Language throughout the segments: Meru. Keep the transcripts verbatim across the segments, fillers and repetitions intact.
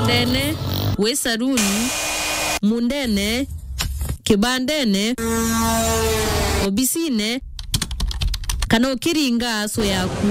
Ndene, wi saruni, mundene, kibandene, obisine, kana ukiringa aso yaku.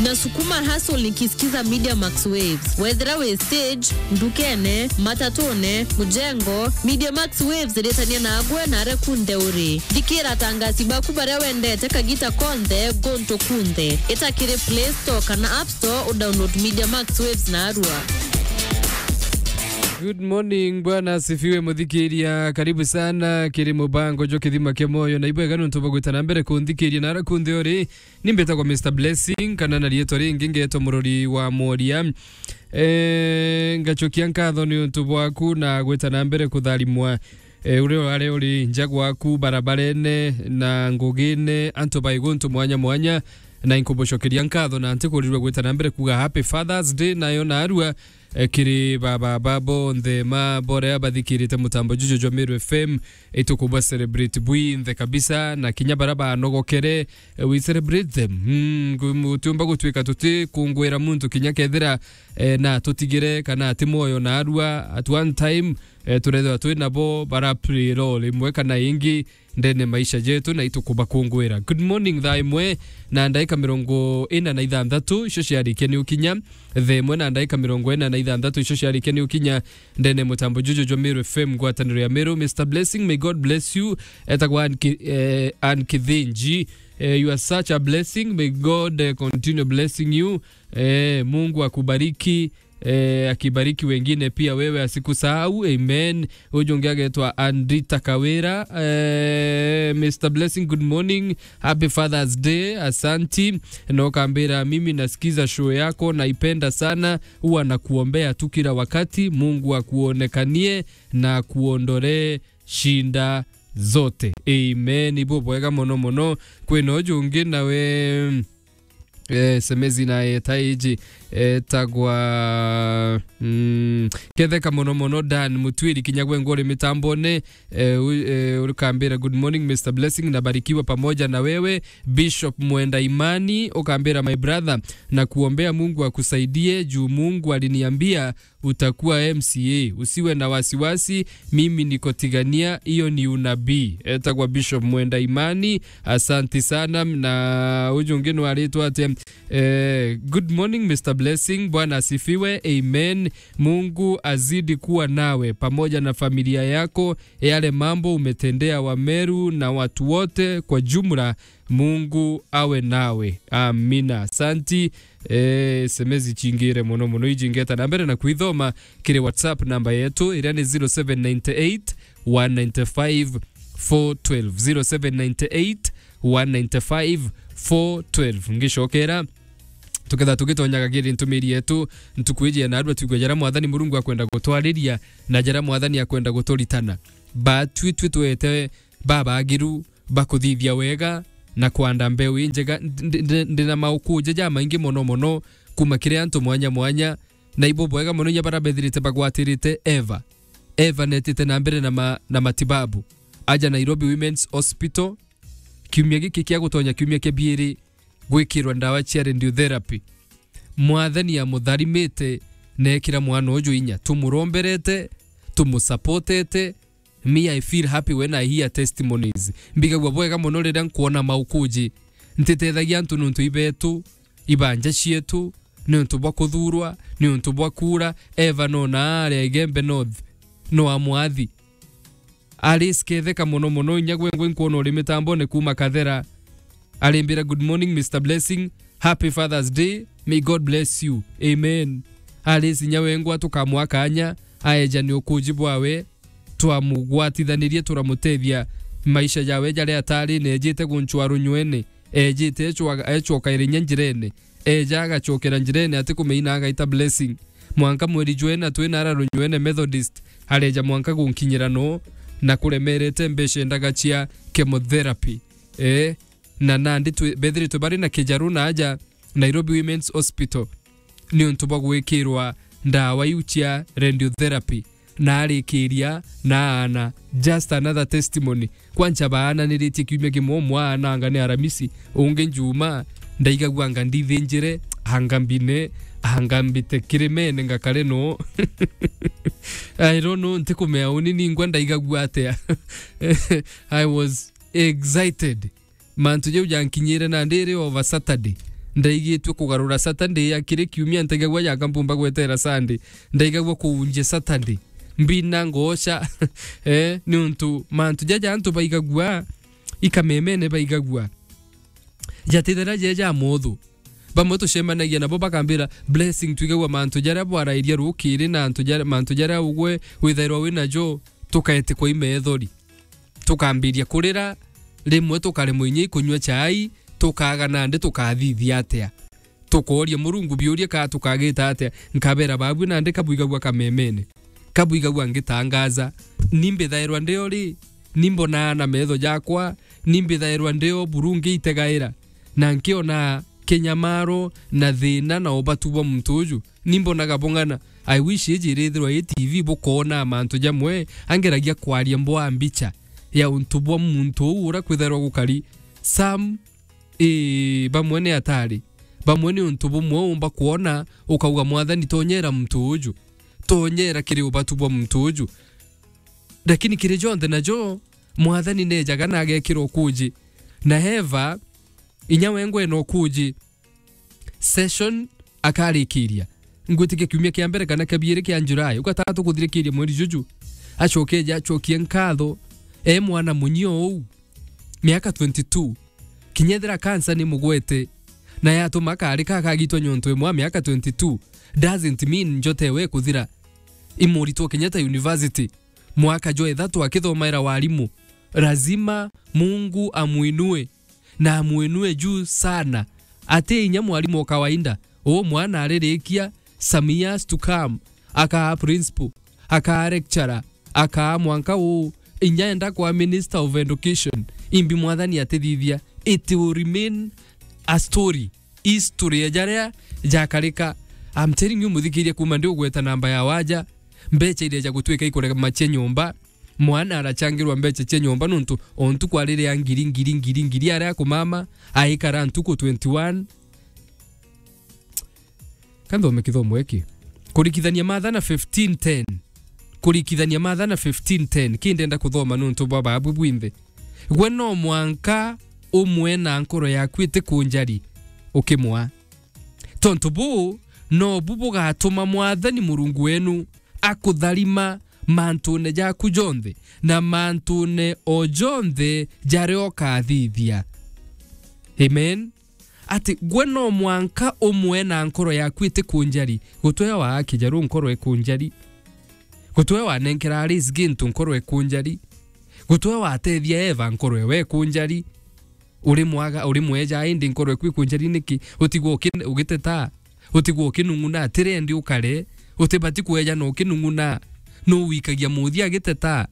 Nasukuma hustle nikisikiza Media Max Waves. Wethira wi stage, ndukene, matatune, mujengo, Media Max Waves ritania nagwe na aria kunthe uri. Thikira atangasi baku baria wendete kagita konthe, guntu kunthe. Ita kiri Play Store kana App Store udownload Media Max Waves narua. Good morning, Bwana asifiwe, muthikiria. Karibu sana kiri mubango jwa Kithima kia Moyo. Na ibwega nontu bwa gwita na mbere kunthikiria na aria kunthe uri. Ni mbitagwa Mister Blessing, kana na riitwa ringi ngetwa Murori wa Mworia. Eh, ngacokia nkatho ni untu bwaku na gwita na mbere kutharimwa, eh, uria urari uri nja gwaku, barabarene na ngugine, antu bai guntu mwanya mwanya, na inkubucokeria nkatho na ntikurirwe gwita na mbere kuga Happy Father's Day nayo narua, eh, kiri baba ba bonthe ma boria bathikirite mutambo juju jwa Meru F M, itukuba celebrate bwinthe kabisa, na kinya bara banogokere, eh, we celebrate them. Mm, gu-, gutiumba gutwika tuti kungwira muntu kinya kethira, eh, na tutigire kana ati mwoyo na arua at one time, eh, turethwa twi nabo bara play role imwe kana ingi ndene maisha jetu, na itukubakungwira. Good morning, thaa imwe na ndaika mirongo ina na ithanthatu, icio ciarikia ni ukinya. Thaa imwe na ndaika mirongo ina na ithanthatu, icio ciarikia ni ukinya ndene mutambo juju jwa Meru F M, ngwataniro ya Meru. Mister Blessing, may God bless you. Etagwa Ann Ki-, eh, Ann Kithinji. Eh, you are such a blessing. May God, eh, continue blessing you. Eh, Mungu akubariki. Eh, akibariki wengine pia, wewe asikusahau. Amen. Uju ungi agetwa Andrita Kawira. Eh, Mister Blessing, good morning. Happy Father's Day. Asanti. Na ukambira, mimi nasikiza show yako, naipenda sana. Huwa nakuombea tu kila wakati. Mungu akuonekanie na akuondolee shinda zote. Amen. Ibo bwega mono mono. Kwina uju ungi nawe, eh, semezi na eta iji, etagwa, mm, ketheka mono mono Dan Mutwiri kinya gwe ngori mitambone, eh, u-, eh, urikambira, "Good morning, Mister Blessing, nabarikiwa pamoja na wewe." Bishop Mwenda Imani, ukambira, "My brother, na kuombea Mungu akusaidie juu Mungu aliniambia utakuwa M C A. Usiwe na wasiwasi, mimi niko Tigania, hiyo ni unabii." Etagwa Bishop Mwenda Imani, asanti sana. Na uju ungi nwaritwa atia? Eh, good morning, Mister Blessing. Bwana asifiwe. Amen. Mungu azidi kuwa nawe pamoja na familia yako. Yale mambo umetendea Wameru na watu wote kwa jumla, Mungu awe nawe. Amina. Asanti. Eh, S M S ichingire mono mono, iji ngeta na mbere na kuithoma kiri WhatsApp namba yetu, iria ni zero seven nine eight, one nine five, four twelve. Zero seven nine eight, one nine five, four twelve. Ngicokera, tuketha tugitonyaga kiri ntumiri yetu, ntuku iji ya narua, twigwe jara Mwathani Murungu akwenda gutwariria na jara Mwathani akwenda guturitana. Batwi twi twete babagiru bakuthithia wega na kwanda mbeu injega. Ndi, ndi, ndi na maukuja jamaingi mono mono kuma kiri antu mwanya mwanya, na ibo bwega mono inya bara bethirite bagwatirite Eva. Eva netite na mbere na ma-, na matibabu. Aja Nairobi Women's Hospital, kiumia giki kia gutonya kiumia kia biiri gwikirwa ndawa cia radiotherapy. Mwathani amutharimite na ekira mwana uju inya. Tumuromberete, tumusupportete, Me, I feel happy when I hear testimonies. Mbigagua bwega mono riria nkwona maukuji. Ntitethagia antu niuntu ibetu, ibanja cietu, niuntu bwa kuthurwa, niuntu bwa kura. Eva no na aria Igembe North, no amwathi. Alice Ketheka mono mono, inya gwe ngwe nkwona uri mitambone kuma Kathera. Arimbira, "Good morning, Mister Blessing. Happy Father's Day. May God bless you." Amen. Alice inya wengwa tukamwa kanya, aeja ni ukuji bwawe, twamugwatithanirie, turamutethia maisha jawe jaria atari, nejite gunchwa runywene, ejite echwa-, echoka irinya njirene, eja agachokera njirene, ati kumeina agaita Blessing. Mwanka mweri jwena twina ara runywene Methodist, areja mwanka gunkinyira no, na kuremerete mbeca endaga cia chemotherapy. Eh, na nandi twi-, bethiritwe bari na kijaru na aja Nairobi Women's Hospital niuntu bwa gwikirwa ndawa iu cia radiotherapy, na arikiria na aana just another testimony. Kwancha baananiritie kiumia kimwe, umwe aana anga ni Aramisi, ungi Njuma, ndaigagua anga ndithinjire, anga mbine, Anga mbite kirimene ngakare no? I don't know, ntikumea uni ningwa ndaigagua atia. I was excited. Mantu jau jankinyire na ndiri over Saturday. Ndaigitue kugarura Saturday ya kiri kiumia, ntaigagua jaka mpumba gwetera Sunday. Ndaigagua kuunjia Saturday. Mbina ngoca. Eh, niuntu mantu jaja antu baigagua, ikamemene baigagua. Jatithira jeja muthu. Bamwe tucemanagia nabo bakambira blessing, twigagua mantu jaria bwarairia rukiri na antu jaria, mantu jaria ugwe withairwa winajo, tukaetikwa imethori. Tukambiria kurira, rimwe tukaremwa inya ikunyua chai, tukaga nandi tukathithia atia? Tukooria Murungu biuria ka tukagita atia? Nkabera babui nandi kabwigagua kamemene. Kabwigagua ngitangaza. Ni mbithairwa ndio ri? Ni mbonaa na metho jakwa? Ni mbithairwa ndio buru ngiitegaira? Na nkiona kinyamaro na thina na ubatu bwa muntu uju? Ni mbonaga bung'ana. I wish iji irithirwa i T V bukoona mantu jamwe, angeragia kwaria mbwa mbicha ya untu bwa muntu uu uria kwithairwa gukari. Some, ii, bamwe ni atari. Bamwe ni untu bumwe umba kwona, ukauga, "Mwathani, tonyera muntu uju. Tonyera kiri ubatu bwa muntu uju." Lakini kiri jonthe najo, Mwathani nejaga na agekira ukuji. Na heva, inya wengwe na ukuji. Session akarikiria. Ngwitikia kiumia kia mbere kana kia biiri kia July, ugatatu kuthirikiria mweri juju. Acokeja, acokie nkatho. E mwana munyio uu, miaka twenty-two. Kinya ethira cancer ni mugwete, na yatuma akarika akagitwa nyontu imwe a miaka twenty-two, doesn't mean njote ewe kuthira. Imuritwo Kenyatta University, mwaka jwa ithatu akithomaira warimu. Lazima Mungu amuinue. Na amwinue juu sana. Ati inya mwarimu o kawaida. Uu mwana aririkia, some years to come, akaa principal, akaa lecturer, akaa mwanka uu, inya enda kwa Minister of Education. Imbi Mwathani atithithia. It will remain a story. History ya jaria jakarika. I'm telling you, muthikiria, kuma ndi ugweta namba ya waja, mbecha iria ja gutwika ikurema cia nyomba, mwana arachangirwa mbecha cia nyomba nontu o ntuku ariria ngiri, ngiri, ngiri, ngiri aria akumama, aikara ntuku twenty-one. Ka nthome kithomo giki. Kurikithania Mathana fifteen ten. Kurikithania Mathana fifteen ten. Ki ndenda kuthoma nontu bwa babu bwinthe. Gwe no mwanka umwe na nkoro yaku itikunjari ukimwa. Tontu buu, nobu bugatuma Mwathani Murungu wenu akutharima mantune jaku jonthe, na mantune o jonthe jaria ukathithia. Amen. Ati gwe no mwanka umwe na nkoro yaku itikunjari, gutwe wa akijaru nkoro ikunjari, gutwe wanenkera Alice gintu nkoro ikunjari, gutwe watethia Eva nkoro ewe ikunjari, uri mwaga, uri mweja, indi nkoro eku ikunjari niki? Utigwe uki-, ugiteta, utigwe ukinung'una, tirendi ukare, utibati kweja na ukinung'una. Nu wikagia muthia agiteta?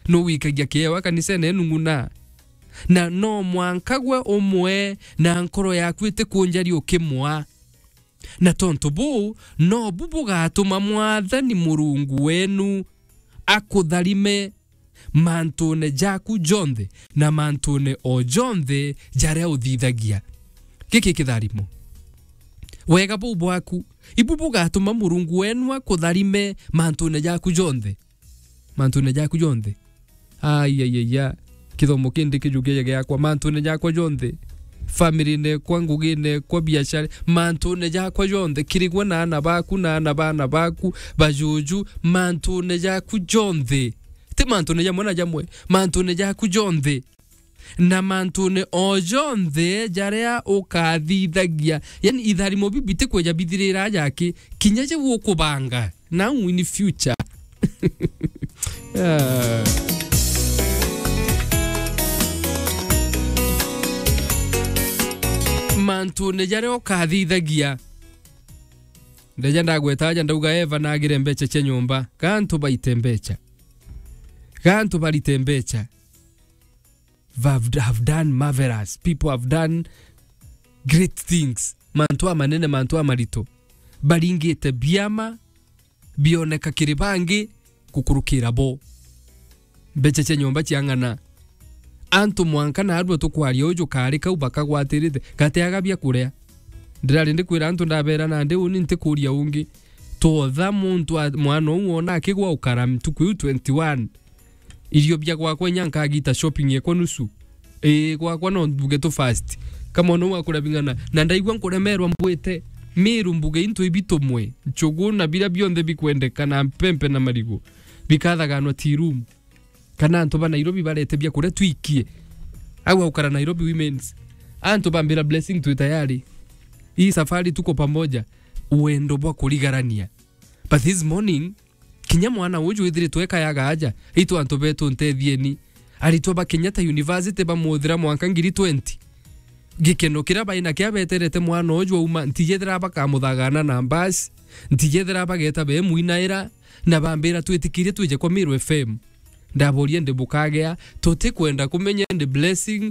Nu wikagia kiewa kanisene enung'una? Na no mwanka gwe umwe na nkoro yaku itikunjari ukimwa. Na tontu buu, nobu bugatuma Mwathani Murungu wenu akutharime mantune jaku jonthe na mantune o jonthe jaria uthithagia. Giki kitharimo. Wega buu bwaku, ibu bugatuma Murungu wenu akutharime mantune jaku jonthe. Mantune jaku jonthe. Ai, ai, ai, ai. Kithomo kindi kijukia giakwa, mantune jakwa jonthe. Family-ne kwa, ngugine kwa, biashara, mantune jakwa jonthe. Kirigwe na ana baku, na ana bana baku, bajuju, mantune jaku jonthe. Ti mantune jamwe na jamwe, mantune jaku jonthe. Na mantune o jonthe jaria ukathithagia. Yani, itharimo bibi ti kweja bithirira aja ki, kinya jau ukubanga. Now in future. Ah. Mantune jaria ukathithagia. Ndeja ndagweta aja ndauga Eva nagire mbecha cia nyomba. Gantu baite mbecha. Gantu barite mbecha. Have, have done marvelous. People have done great things. Mantu amanene, mantu amarito. Baringite biama, bioneka kiri bangi gukurukira bo. Mbecha cia nyomba cia ng'ana. Antu mwanka naarua tukwaria uju kari kau bakagwatirite, gateaga bia kuria. Ndirari ndikwira antu ndabera nandi uni ntikuria ungi. Twotha muntu a-, mwana uu wona akigwa ukara ntuku iu twenty-one. Irio bia gwakwa inya nkagita shopping ekwa nusu. Ii, gwakwa no mbuge tu fast. Kama ono wakura bing'ana, na ndaigua nkuremerwa mbwite. Miru mbuge into ibitumwe, nchugu na bira bionthe bikwendeka na mpempe na marigu. Bikathaganwa tea room. Kana antu ba Nairobi barete bia kuria twikie. Au aukara Nairobi Women's. Antu bambira Blessing twi tayari. Hii safari tuko pamoja. Wendo bwa kurigarania. But this morning, kinya mwana uju withiritwe ekayaga aja, itu antu betu ntethieni. Aritwa ba Kenyatta University bamuthira mwanka ngiri twenty. Gikeno kiria baina kia beterete mwana uju auma, ntijethira bakamuthagana na bus, ntijethira bageta bemwinaira, na bambira twitikirie twije kwa Meru F M. Ndaboria ndi bukagea, tutikwenda kumenya ndi Blessing